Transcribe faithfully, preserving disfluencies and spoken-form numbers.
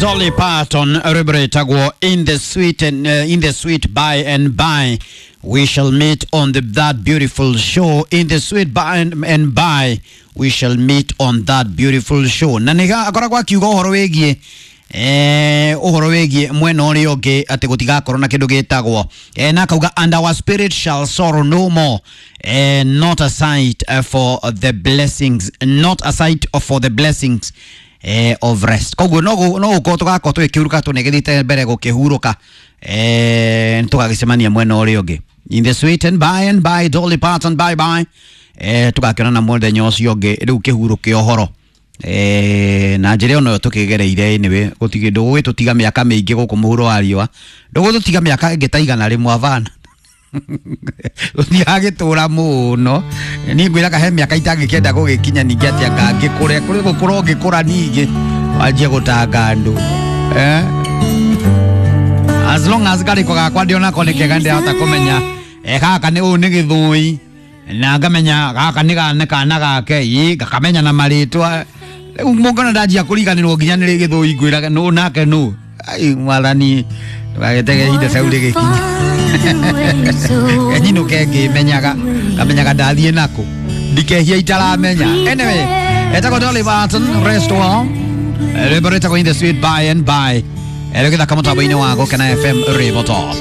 Dolly Parton rwĩmbo rwĩtagwo in the sweet and, uh, in the sweet by and by we shall meet on the, that beautiful show in the sweet by and, and by we shall meet on that beautiful show na nĩ akoragwo akiuga ũhoro wĩgiĩ eh, ũhoro wĩgiĩ mwena ũrĩa ũngĩ atĩ gũtigakorwo na kĩndũ gĩtagwo eh, na akauga and our spirit shall sorrow no more eh, not a sight eh, for the blessings not a sight for the blessings eh, of rest koguo no no gũkorwo tũgakorwo tũgĩkĩhuruka tũnegethite mbere gũkĩhurũka eh, tũgagĩcemania mwena ũrĩa ũngĩ in the sweet and by and by Dolly Parton bye bye eh, tũgakĩonana mũthenya ũcio ũngĩ rĩu kĩhurũke ũhoro eh, na njĩra ĩno tũkĩgereire anyway gũtigĩ ndũgũgĩtũtiga mĩaka mĩingĩ gũkũ mũhuro wa riũa ndũgũtũtiga mĩaka ĩngĩ ta igana rĩmwe abana gũtiragĩtũra mũno niĩ ngwĩraga he mĩaka itangĩkĩenda gũgĩkinya ningĩ atĩ anga ngĩkũre kũrĩ gũkũra ũngĩkũra ningĩ wanjie gũtanga andũ eh? As long as karĩko gakwa ndĩonako nĩ kega ndĩrahota kũmenya eh, gaka nĩ ũyũ nĩ gĩthũi na ngamenya gaka nĩ ga- nĩ kana gake ĩ ngakamenya na marĩtwa rĩu mũngona ndanjia kũriganĩrwo nginya nĩ gĩthũi ngwĩraga nũ nake nũ ai mwathani ndũgagĩtege ihinda cau rĩgĩkinya enyinũke ngĩmenyaga ngamenyaga ndathiĩ nakũ ndikehia itaramenya anyway etagwo Dolly Parton rest well rwĩmbo rwĩtagwo in the sweet by and by rũgĩthaka mũtambo-inĩ wa Gũkena F M River Top.